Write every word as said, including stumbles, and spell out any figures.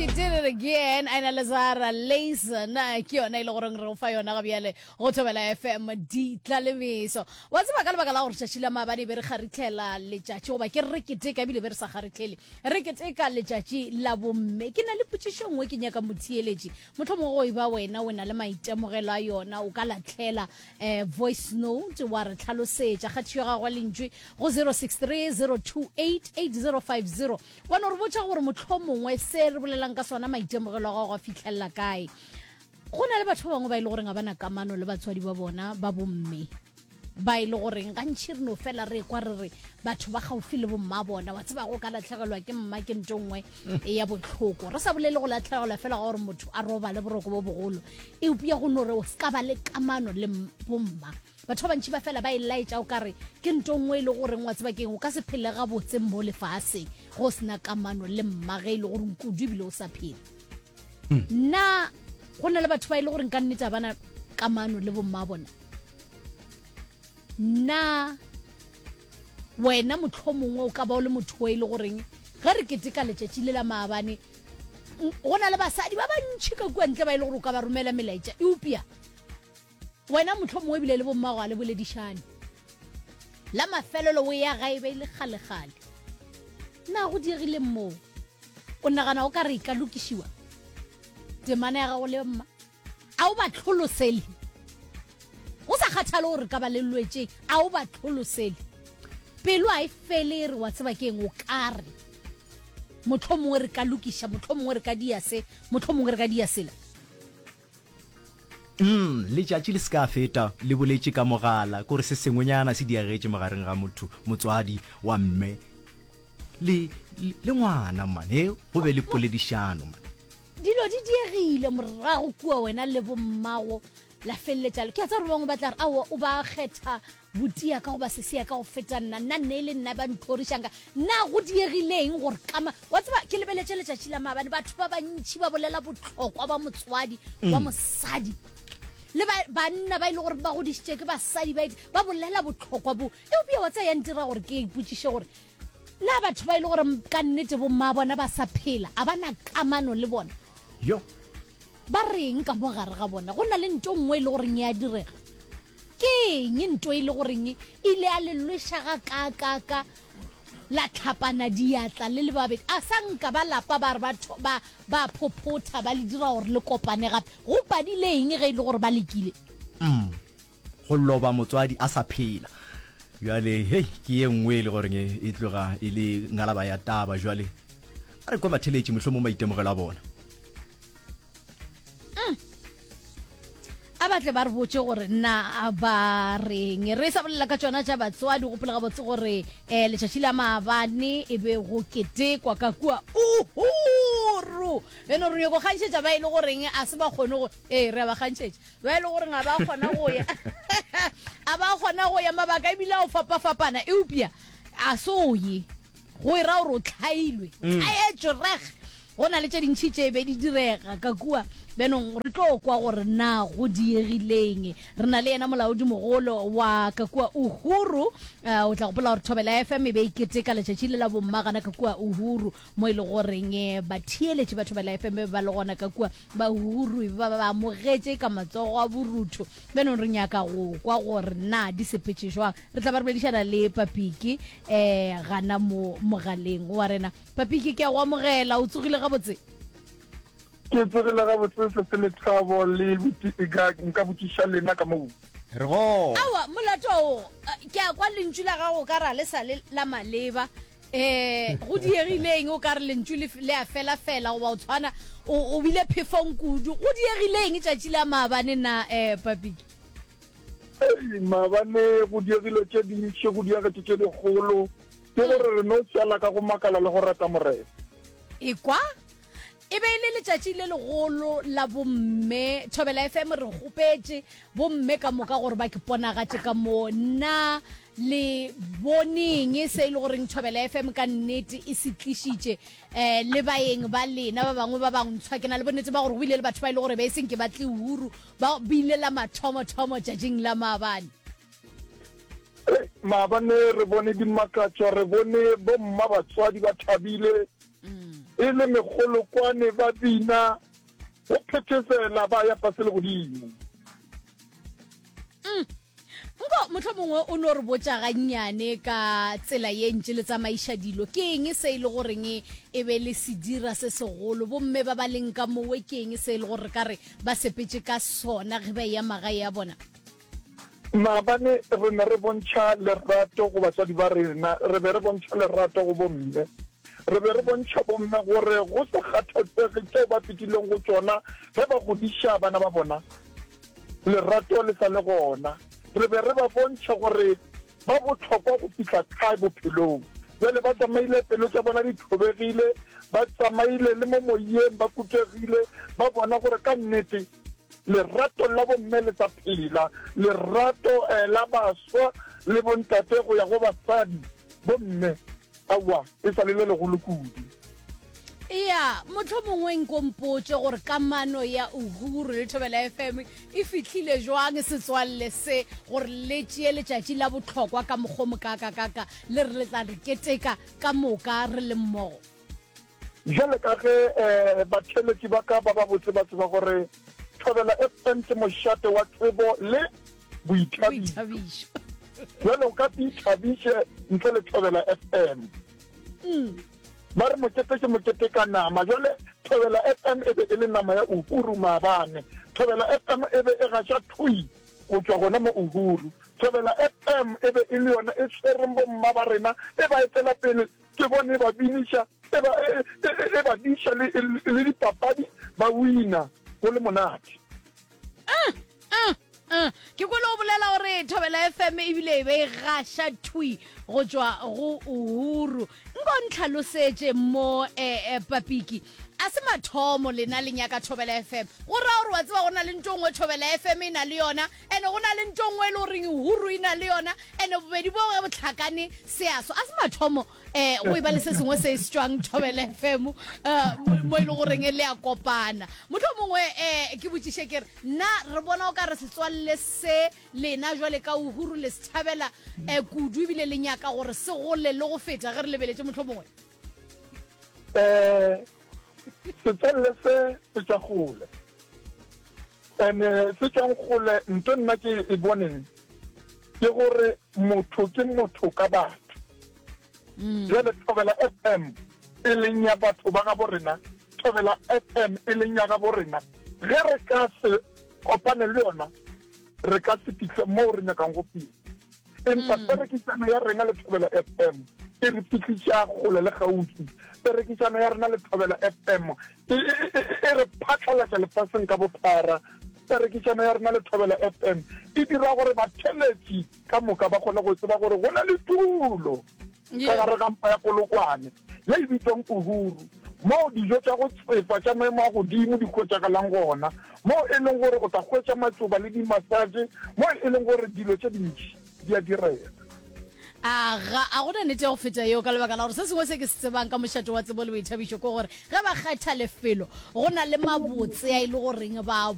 She did it again. Aina Lazara Layson ke yona e le goreng re go fa yona ga bjale go Thobela F M ditlalemeso. Wa tseba, ka lebaka la gore tšatši la maabane be re kgaritlhela letšatši, goba ke re keteka, ebile be re sa kgaritlhele, re keteka letšatši la bomme, ke na le potšišo nngwe ke nyaka motheeletši, motlho mongwe go e ba wena o na le maitemogelo a yona, o ka latlhela um voice note wa re tlhalosetša kgathišo ya gagwe lentšwe go zero six three zero two eight eight zero five zero, wa no re botša gore motlho mongwe se re bolelang ka sona maitemogelo a gago a fitlhelela kae. Go na le batho ba bangwe ba e le goreng ga ba na kamano le batswadi ba bona ba bomme, ba e le goreng gantšhi re no fela re kwa re re batho ba gaufi le bomma bona. Wa tseba, go ka latlhegelwa ke mma ke nto nngwe ya botlhoko, re sa bolele go latlhegelwa fela ga gore motho a robale boroko bo bogolo, eupša go no re o se ka ba le kamano le bomma, batho ba bantšhi ba fela ba e laetša o kare ke nto nngwe e le goreng, wa tseba keng, o ka se phele gabotse mo lefaseng go sena kamano le mma, ge e le gore kudu ebile o sa phele. Nna go na le batho ba e le goreng ka nnete a bana kamano le bomma bona. Nna wena motlho mongwe o ka ba o le motho o e le goreng ge re keteka letšatši le la maabane, go na le basadi ba bantšhi ka kua ntle ba e le gore o ka ba romela melaetša, eupša wena motlho mongwe ebile le bommago a le boledišane, la mafelelo o ya gae be e le kgale-kgale. Na go diegile moo o nagana o ka re e ka lokišiwa temana ya gago le mma? A o ba tlholosele go sa kgathale gore ka ba le lwetšeng? A o ba tlholosele? Pelo a e fele e re, wa tseba keng, o ka re motlho mongwe re ka lokiša, motlho mongwe re ka dia se, motlho mongwe re ka dia sela. mm letšatši le se ka feta le boletše ka mogala, kore se sengwenyana se diagetše magareng ga motho motswadi wa mme le le ngwana mane, go be le poledišano man. Dilo di diegile morago kua, wena le bommago la feleletša. Ke a tsa gore bangwe ba tla re, aowa, o ba kgetha botia ka goba sesea ka go feta nna, nna nne e le nna ba ntlhorišang ka nna. Go diegileng gore kama? Wa tseba, ke lebeletše letšatši la maabane, batho ba bantšhi ba bolela botlhokwa ba motswadi wa mosadi le banna ba e le gore ba godišitše ke basadi, ba ba bolela botlhokwa bo. Eupša wa tsaya ya ntira gore ke ipotšiše gore na batho ba e le gore ka nnete bomma bona ba sa phela a ba na kamano le bona, yo ba reng ka mo gare ga bona? Go na le nto nngwe e le goreng ya direga, ke eng nto e le goreng ile a le lweša ga kakaka la tlhapana diatla le le babedi, a sa nka ba lapa ba re ba ba phophotha ba le dira gore le kopane gape? Go padile eng ge e le gore ba lekile? mm go loba motswadi a sa phela bjale, hei, ke ye nngwe e le goreng e tloga e le ngalaba ya taba. Jwale a re kwa batheletši mohlomong maitemogelo a bona. A batle ba re botse gore na ba reng. Re sa bolela ka tsona tša batswadi, gopola gabotse gore um letšatši la maabane e be go ketekwa ka kua Uhuru. Eno re nyako kgantšhetša ba e le goreng a se ba kgone go, ee, re a ba kgantšhetša ba e le goreng a ba kgona go ya, a ba kgona go ya, mabaka ebile a o fapafapana, eupša a se o ye go e ra gore o tlhailwe, tlhaetšwe reg. Go na le tše dintšhi tše be di direga ka kua. Bjanong re tlo kwa gore na go diegileng. Re na le yena molaodimogolo wa ka kua Uhuru. uh, o tla gopola gore Thobela F M e be e keteka letšatši le la bomma gana ka kua Uhuru, mo e le goreng eh, batheeletši ba Thobela F M be ba le gona ka kua ba Uhuru, e ba ba amogetše ka matsogo a borutho. Bjanong re nyaka go kwa gore na di sepetše jwang. Re tla ba re boledišana le Papiki um gana mo mogaleng wa rena. Papiki, ke a go amogela. O tsogile gabotse? Ke tsogile gabotse, sese Lethabo le nka botšiša lena ka moo. Re go Awa, molato o ke a kwa lentšu la gago ka ra le sa le la maleba. um go diegileng? O ka re lentšu le a fela fela, goba o tshwana o bile phefong kudu. Go diegileng tšatši la maabane na, um Papiki? Maabane go diegile tše dintši, go diegetše tše dikgolo, ke gore re no šala ka go makala le go rata Morena. E kwa e be e le letšatši le legolo la bomme. Thobela F M re kgopetše bomme ka moka gore ba ke ponagatše ka mo. Nna le boneng se e le goreng Thobela F M ka nnete e se tlišitše um le baeng ba lena ba bangwe ba bangntshwa? Ke na le bonnete ba gore go bile le batho ba e le gore be e seng ke batle Uhuru, ba bile la mathomothomo tšatšing la maabane. Maabane re bone dimakatšo, re bone bomma batswadi ba thabile. E le mekgolokwane ba bina go phethesela ba ya fase le godimo. Mm. Nko mohlomongwe o no re botša gannyane ka tsela ye ntše le tsamaiša dilo. Ke eng se e le goreng e be le se dira se segolo? Bomme ba ba leng ka mowe ke eng se e le gore re ka re ba sepetše ka sona ge ba eya magae a bona? Maabane re ne re bontšha lerato go batswadi ba rena. Re be re bontšha lerato go bomme. Re be re bontšha bomme gore go sa kgathatsege tšeo ba fetileng go tšona ge ba godiša bana ba bona, lerato le sa le gona. Re be re ba bontšha gore ba bohlokwa go fihla kae bophelong. Bjale ba tsamaile pelo tša bona di thobegile, ba tsamaile le mo moyeng ba kutegile, ba bona gore ka nnete lerato la bomme le sa phela, lerato la baswa le bontate go ya go basadi, bomme, aowa, e sa le le legolo kudu. Eya, mohlomongwe nko mpotše gore kamano ya Uhuru le Thobela F M e fihlile jwang setswalle se gore le tšee letšatši la bohlokwa ka mokgwa o mokaakakaka le re le tla re keteka ka moka re le mmogo? Bjale ka ge batheeletši ba ka ba babotse ba tseba gore Thobela F M ke mošate wa tsebo le boithabišo, bjale o ka se ithabiše ntle le Thobela F M. Ba re mokete ke mokete ka nama. Bjale Thobela F M e be e le nama ya Uhuru maabane. Thobela F M e be e gaša thwi go tšwa gona mo Uhuru. Thobela F M e be e le yona e swereng bomma ba rena, e ba etela pele. Ke bone e ba biniša, e ba, e, e, e, e ba diša le, le dipapadi, ba wina, go le monate. Uh, uh, uh. Ke kwele o bolela gore Thobela F M ebile e be e gaša thwi go tšwa go Uhuru. Nko ntlhalosetše mo eh, eh, Papiki. A se mathomo lena le nyaka Thobela F M. Go ra gore wa tseba go na le nto nngwe Thobela F M e na le yona, ene go na le nto nngwe e le goreng Uhuru e na le yona, ene bobedi bo ge bo hlakane se a swa. A se mathomo eh go e ba le se sengwe se se tšwang Thobela F M eh, mo e le goreng le a kopana. Mohlomongwe eh ke botšiše ke re, na re bona o ka re setswalle se lena jwale ka Uhuru le se thabela eh kudu ebile le nyaka gore se gole le go feta ge re lebeletše mohlomongwe? Eh, setswalle se se tšwa kgole. Ene se tšwang kgole nto nna ke e boneng ke gore motho ke motho ka batho. Bjale Thobela F M e leng ya batho ba gabo rena, Thobela F M e leng ya gabo rena, ge re ka se kopane le yona re ka se fihle moo re nyakang go fihla. Empa perekišano ya rena le Thobela F M e re fihliša kgole le kgauswi. Perekišano ya rena le Thobela F M e, e, e, e re phatlalatša lefaseng ka bophara. Perekišano ya rena le Thobela F M e dira gore batheletši ka moka ba kgone go tseba gore go na le tulo ka gare ga mpa ya Polokwane ye e bitswang Uhuru, moo dijo tša go tsefa tša maemo a godimo di hwetšagalang gona, moo e leng gore o tla hwetša matšoba le di-massage, moo e leng gore dilo tše dintši di a direga. A ga a gona nnete ya go feta yeo, ka lebaka la gore se sengwe se ke se tsebang ka mošate wa tsebo le boithabišo ke gore ge ba kgetha lefelo go na le mabotse a e le goreng ba